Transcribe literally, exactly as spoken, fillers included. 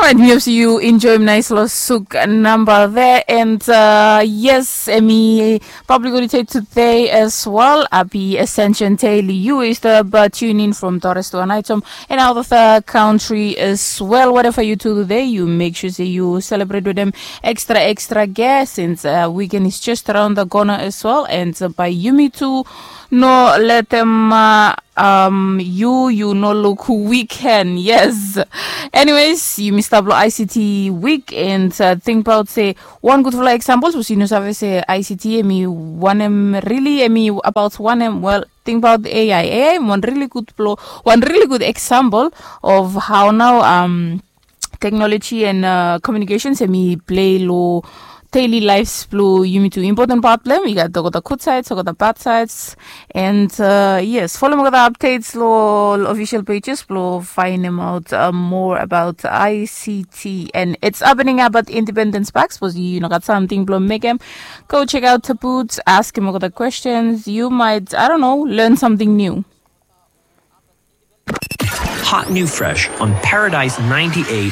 Orait, mi hope se yu enjoim nais long suk namba there. And uh, yes, emi public holiday today as well. Happy Ascension Day, you is the but tune in from Torres to Anaitom and out of the country as well. Whatever you do today, you make sure say you celebrate with them extra extra gas. And uh, weekend is just around the corner as well. And uh, by yumi too, no let them uh, um, yu yu no luk weekend, yes. Anyways, yumi stap long I C T week and uh, tingbaot se wan gudfala example sapos yu no save se I C T emi wanem, rili emi abaot wanem, well, tingbaot A I. A I wan rili gud blo wan rili gud example of how nao um, technology and uh, communications emi plei long daily lives blong yumi tu. Important part blong hem i gat olgeta good sides, olgeta bad sides. And uh, yes, folem olgeta updates long official pages blong findem out uh, more about I C T. And it's happening about Independence Park. Suppose you know got something blong mekem, go check out the boots, ask him olgeta questions. You might, I don't know, learn something new. Hot new fresh on Paradise ninety-eight